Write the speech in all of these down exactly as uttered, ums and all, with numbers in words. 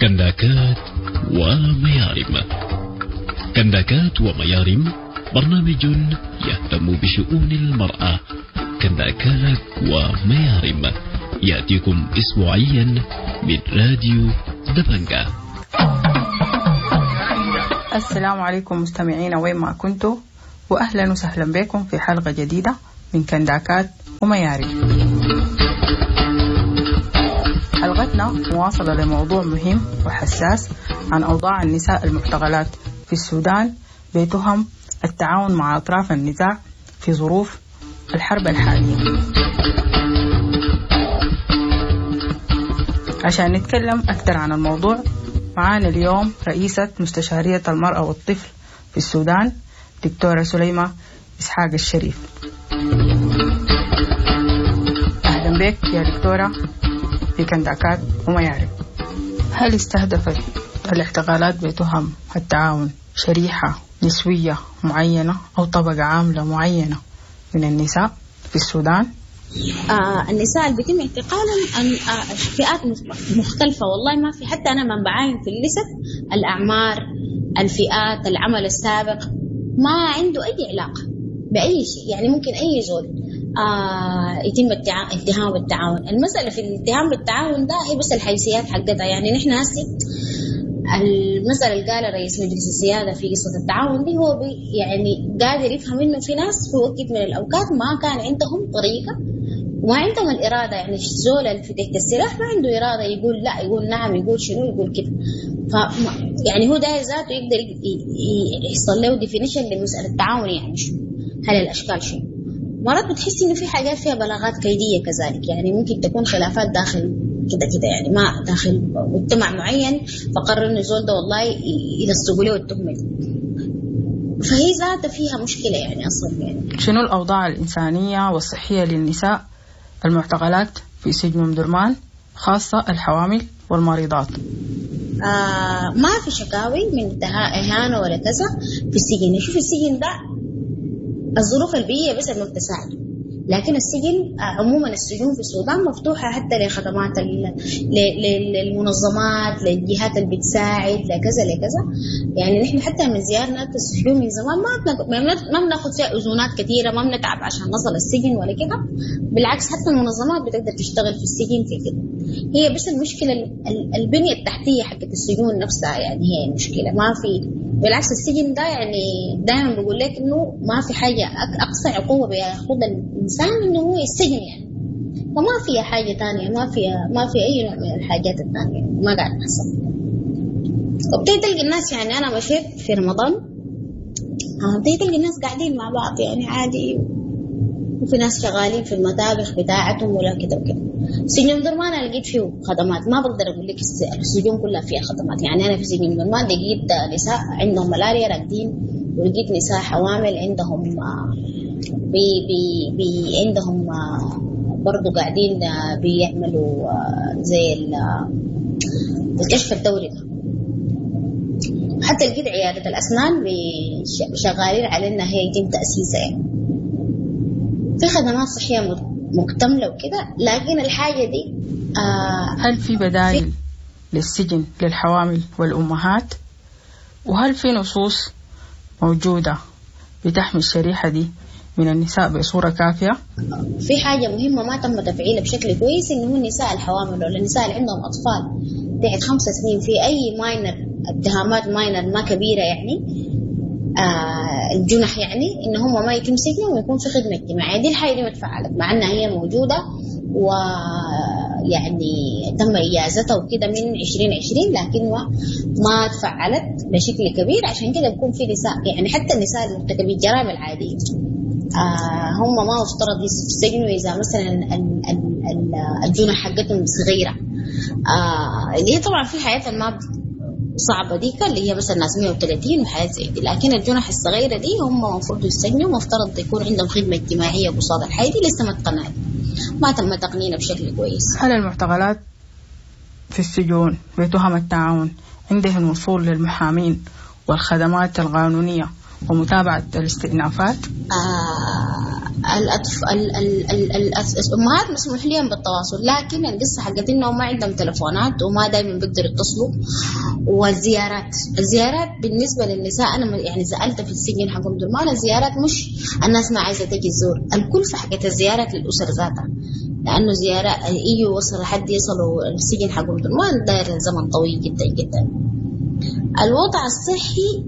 كنداكات وميارم. كنداكات وميارم برنامج يهتم بشؤون المرأة. كنداكات وميارم يأتيكم أسبوعيا من راديو دبنجة. السلام عليكم مستمعينا وين ما كنتوا، وأهلا وسهلا بكم في حلقة جديدة من كنداكات وميارم. حلقتنا مواصلة لموضوع مهم وحساس عن أوضاع النساء المعتقلات في السودان بتهم التعاون مع أطراف النزاع في ظروف الحرب الحالية. عشان نتكلم أكثر عن الموضوع معانا اليوم رئيسة مستشارية المرأة والطفل في السودان دكتورة سليمة إسحاق الشريف. أهلا بك يا دكتورة في كنداكات وميارم. هل استهدفت الاعتقالات بتهم التعاون شريحة نسوية معينة أو طبقة عاملة معينة من النساء في السودان؟ آه النساء اللي بيتم اعتقالهم آه فئات مختلفة، والله ما في، حتى أنا من بعاين في اللست الأعمار، الفئات، العمل السابق، ما عنده أي علاقة بأي شيء. يعني ممكن أي زول آه يتم اتهام بالتعاون. المسألة في الاتهام بالتعاون ده هي بس الحيثيات حقتها. يعني نحن هسي المسألة اللي قالها رئيس مجلس السيادة في قصة التعاون دي، هو بي يعني قادر يفهم إنه في ناس في وقت من الأوقات ما كان عندهم طريقة وما عندهم الإرادة. يعني الزول اللي في تحت السلاح ما عنده إرادة يقول لا، يقول نعم، يقول شنو، يقول كده. ف يعني هو ده ذاته يقدر يحصل له definition لمسألة التعاون، يعني شنو، هل الأشكال شنو. مرات بتحس إنه في حاجات فيها بلاغات كيدية كذلك، يعني ممكن تكون خلافات داخل كده كده، يعني ما داخل مجتمع معين فقرر إنه زول ده والله يلصقوا له التهمة دي، فهي ذاتها فيها مشكلة يعني أصلا. يعني شنو الأوضاع الإنسانية والصحية للنساء المعتقلات في سجن أم درمان، خاصة الحوامل والمريضات؟ آه ما في شكاوي من إهانة ولا كذا في السجن. شوف السجن ده الظروف البيئية بس ما بتساعده، لكن السجن عموما السجون في السودان مفتوحة حتى لخدمات للمنظمات، للجهات اللي بتساعد، لكذا لكذا. يعني نحن حتى من زيارنا السجون من زمان ما ما بناخذ فيها أذونات كثيرة، ما بنتعب عشان نصل السجن ولا كده. بالعكس حتى المنظمات بتقدر تشتغل في السجن في كده. هي بس المشكلة البنية التحتية حقت السجون نفسها، يعني هي المشكلة. ما في بالعكس السجن ده يعني دائما بقول لك إنه ما في حاجة أقصى عقوبة بياخدها الإنسان إنه هو السجن يعني، فما فيها حاجة تانية، ما فيها ما في أي نوع من الحاجات التانية ما قاعد تحصل. وبتيجي تلقي الناس، يعني أنا مشيت في رمضان بتيجي تلقي الناس قاعدين مع بعض يعني عادي، وفي ناس شغالين في المطابخ بتاعتهم ولا كده وكده. سجن أم درمان أنا لقيت فيه خدمات، ما بقدر أقول لك السجون كلها فيها خدمات. يعني أنا في سجن أم درمان لقيت نساء عندهم ملاريا راقدين، ولقيت نساء حوامل عندهم بي بي بي عندهم برضو قاعدين بيعملوا زي الكشف الدوري ده. حتى لقيت عيادة الأسنان شغالين على إنها هي يتم تأسيسها. يعني في خدمات صحية مكتملة وكده، لكن الحاجة دي آه هل في بدائل للسجن للحوامل والأمهات؟ وهل في نصوص موجودة بتحمي الشريحة دي من النساء بصورة كافية؟ في حاجة مهمة ما تم تفعيلها بشكل كويس، إنه هو النساء الحوامل ولا النساء اللي عندهم أطفال تحت خمس سنين في أي minor اتهامات minor ما كبيرة يعني آه الجنح، يعني إن هم ما يتم سجنهم ويكون في خدمة اجتماعية. دي الحاجة دي ما اتفعلت مع أنها هي موجودة ويعني تم إجازتها وكده من عشرين عشرين، لكن ما تفعلت بشكل كبير. عشان كده بيكون في نساء، يعني حتى النساء المرتكبين الجرائم العادية آه هم ما افترض يسجنوا إذا مثلا الجنح حقتهم صغيرة، آه اللي هي طبعا في حياة ما صعبة ديك اللي هي مثلا ناس مية وثلاثين وحاجات زي دي، لكن الجنح الصغيرة دي هم المفروض يسجنوا، مفترض يكون عندهم خدمة اجتماعية قصاد الحياة دي. لسه ما اتقنعت، ما تم تقنينها بشكل كويس. هل المعتقلات في السجون بتهم التعاون عندهم وصول للمحامين والخدمات القانونية ومتابعة الاستئنافات؟ آه الأطف... ال... ال... ال... ال... الأمهات مسموح لهم بالتواصل، لكن القصة حقت إنهم ما عندهم تلفونات وما دايما بيقدروا يتصلوا. والزيارات، الزيارات بالنسبة للنساء أنا يعني سألت في السجن حق أم درمان، الزيارات مش الناس ما عايزة تجي تزور، الكلفة حقت الزيارات للأسر ذاتها، لأنه زيارة يجوا وصل لحد يصلوا السجن حق أم درمان داير زمن طويل جدا جدا. الوضع الصحي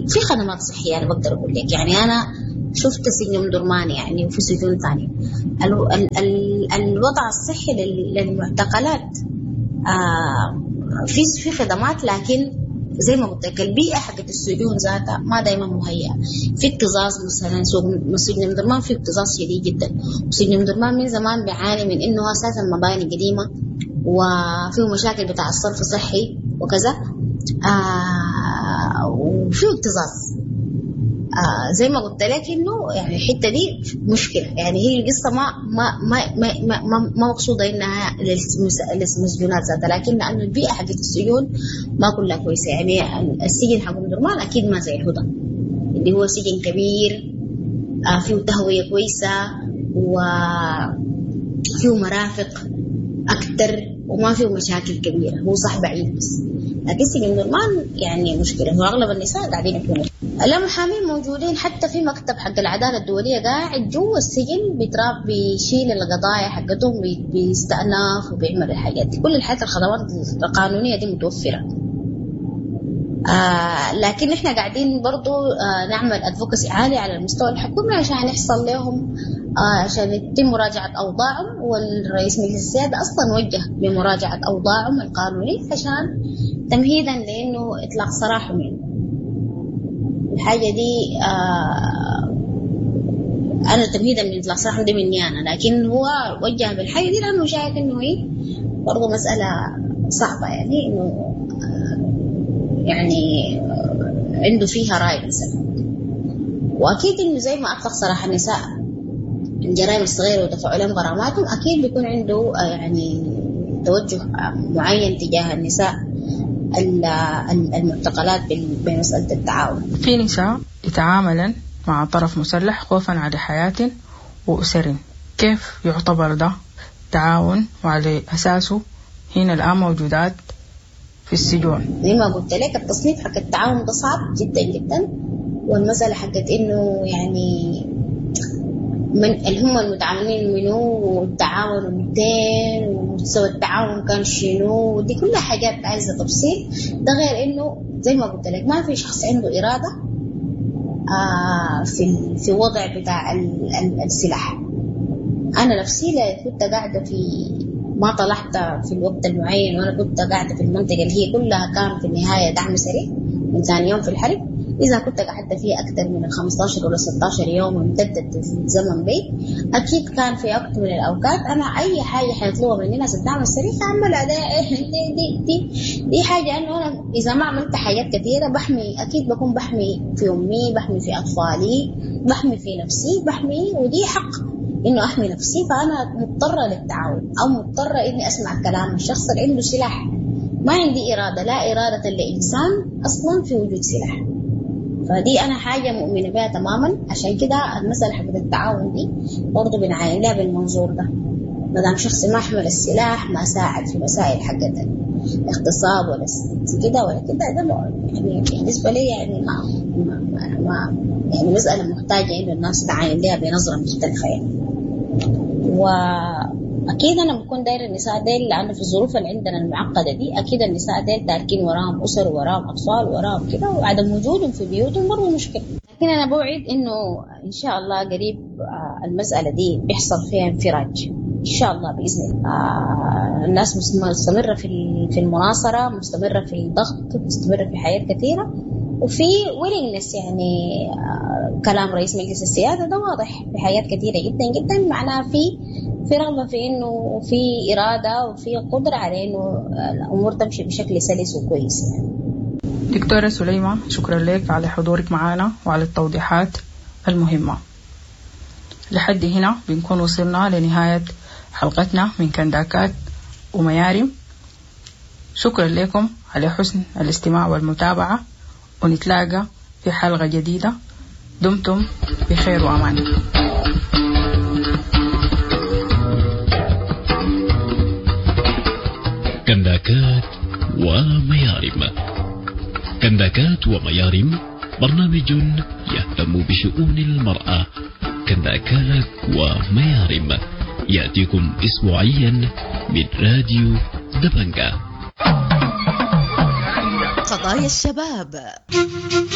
في خدمات صحية أنا بقدر أقول لك، يعني أنا شفت سجن أم درمان يعني وفي سجون ثانية. ال ال ال الوضع الصحي للمعتقلات آه في في خدمات، لكن زي ما قلت لك البيئة حقت السجون ذاتها ما دايما مهيئة. في اكتظاظ مثلا، سجن أم درمان في اكتظاظ شديد جدا، وسجن أم درمان من زمان بيعاني من إنه أساسا مباني قديمة وفيه مشاكل بتاع الصرف الصحي وكذا، آه وفيه اكتظاظ. آه زي ما قلت لك انه يعني الحتة دي مشكلة، يعني هي القصة ما ما ما ما ما, ما مقصوده انها للمسجونات ذاتها، لكن لانه البيئة حقت السجون ما كلها كويسة. يعني السجن حق أم درمان اكيد ما زي الهدى اللي هو سجن كبير، آه فيه تهوية كويسة وفيه مرافق اكثر وما فيه مشاكل كبيرة، هو صح بعيد بس. لكن سجن درمان يعني مشكلة، واغلب النساء قاعدين يكونوا لا محامين موجودين، حتى في مكتب حق العدالة الدولية قاعد جوا السجن بيتراب بيشيل القضايا حقتهم، بيستأنف وبيعمل الحاجات دي، كل الحاجات الخدمات القانونية دي متوفرة. آه لكن احنا قاعدين برضو آه نعمل advocacy عالي على المستوى الحكومي عشان يحصل لهم آه عشان يتم مراجعة أوضاعهم، والرئيس مجلس السيادة أصلا وجه بمراجعة أوضاعهم القانونية عشان تمهيدا لأنه إطلاق سراحهم. يعني الحاجة دي آه أنا تمهيدا من إطلاق سراحهم دي مني أنا، لكن هو وجه بالحاجة دي لأنه شايف إنه هي برضو مسألة صعبة، يعني إنه آه يعني عنده فيها رأي مثلا. وأكيد إنه زي ما أطلق سراح النساء الجرائم الصغيرة ودفعوا لهم غراماتهم، أكيد بيكون عنده يعني توجه معين تجاه النساء المعتقلات بمسألة التعاون. في نساء يتعاملن مع طرف مسلح خوفا على حياة وأسر، كيف يعتبر ده تعاون وعلى أساسه هنا الآن موجودات في السجون؟ زي ما قلت لك التصنيف حق التعاون ده صعب جدا جدا، والمسألة حقت إنه يعني من اللي هم المتعاونين منه والتعاون مئتين ومستوى التعاون كان شنو، ودي كلها حاجات عايزة تفصيل. ده غير إنه زي ما قلت لك ما في شخص عنده إرادة آه في في وضع بتاع السلاح. أنا نفسي كنت قاعدة في ما طلعت في الوقت المعين، وأنا كنت قاعدة في المنطقة اللي هي كلها كان في النهاية دعم سريع من ثاني يوم في الحرب. إذا كنت قعدت فيها أكثر من خمستاشر ولا ستاشر يوم وامتدت الزمن بي، أكيد كان في وقت من الأوقات أنا أي حاجة حيطلبها مني ناس الدعم السريع أعملها. ده دي, دي, دي, دي حاجة أنه أنا إذا ما عملت حاجات كثيرة بحمي، أكيد بكون بحمي في أمي، بحمي في أطفالي، بحمي في نفسي، بحمي، ودي حق إنه أحمي نفسي. فأنا مضطرة للتعاون أو مضطرة إني أسمع كلام الشخص اللي عنده سلاح. ما عندي إرادة، لا إرادة لإنسان أصلا في وجود سلاح. فدي أنا حاجة مؤمنة بها تماما. عشان كده المسألة حقت التعاون دي برضو بنعاين لها بالمنظور ده، ما دام شخص ما حمل السلاح، ما ساعد في مسائل حقت اغتصاب ولا كده ولا كده، ده يعني بالنسبة لي يعني ما, ما, ما, ما يعني مسألة محتاجة إنه الناس تعاين لها بنظرة مختلفة يعني. وأكيد أنا بكون داير النساء ديل، لأنه في الظروف اللي عندنا المعقدة دي أكيد النساء ديل تاركين وراهم أسر وراهم أطفال وراهم كده، وعدم وجودهم في بيوتهم برضه مشكلة. لكن أنا بوعد إنه إن شاء الله قريب المسألة دي بيحصل فيها انفراج إن شاء الله بإذن الله. الناس مستمرة في في المناصرة، مستمرة في الضغط، مستمرة في حاجات كثيرة، وفي willingness يعني كلام رئيس مجلس السيادة ده واضح في حاجات كثيرة جدا جدا، معناها في في رغبة في إنه في إرادة وفي قدرة على إنه الأمور تمشي بشكل سلس وكويس يعني. دكتورة سليمة، شكرا لك على حضورك معنا وعلى التوضيحات المهمة. لحد هنا بنكون وصلنا لنهاية حلقتنا من كنداكات وميارم. شكرا لكم على حسن الاستماع والمتابعة، ونتلاقى في حلقة جديدة. دمتم بخير وأمان. كنداكات وميارم. كنداكات وميارم برنامج يهتم بشؤون المرأة. كنداكات وميارم يأتيكم أسبوعيا من راديو دبنجة. قضايا الشباب.